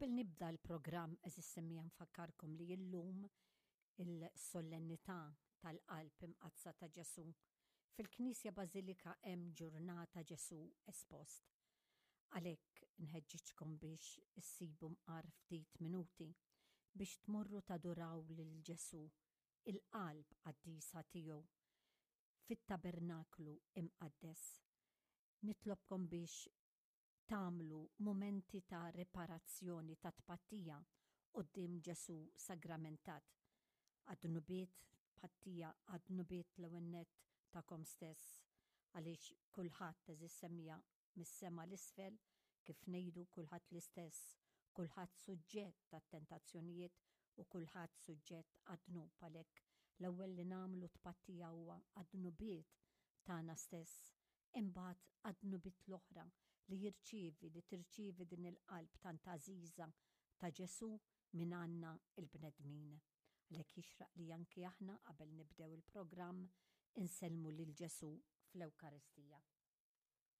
Qabel nibda l-programm għeżież semmiegħa nfakkarkom li illum il-Solennità tal-Qalb Imqaddsa ta' Ġesù. Fil-Knisja Bażilika hemm ġurnata Ġesù espost. Għalhekk nħeġġiġkom biex issibu mqar ftit minuti biex tmorru taduraw lil Ġesù, il-Qalb Qaddisa tiegħu, fit-Tabernaklu Imqaddes. Nitlobkom biex tagħmlu mumenti ta' riparazzjoni, ta' tpattija quddiem Ġesù Sagramentat għad-dnubiet, tpattija għad-dnubiet l-ewwel nett tagħkom stess, għaliex kulħadd, għeżież semmiegħa, mis-sema 'l isfel, kif ngħidu, kulħadd l-istess, kulħadd suġġett għat-tentazzjonijiet u kulħadd suġġett għad-dnub, għalhekk l-ewwel li nagħmlu tpattija huwa għad-dnubiet tagħna stess, imbagħad għad-dnubiet l-oħra li jirċievi, li tirċievi din il-qalb tant għażiża ta' Ġesù minn għandna l-bnedmin. Għalhekk jixraq li anki aħna qabel nibdew il-programm insellmu lil Ġesù fl-Ewkaristija.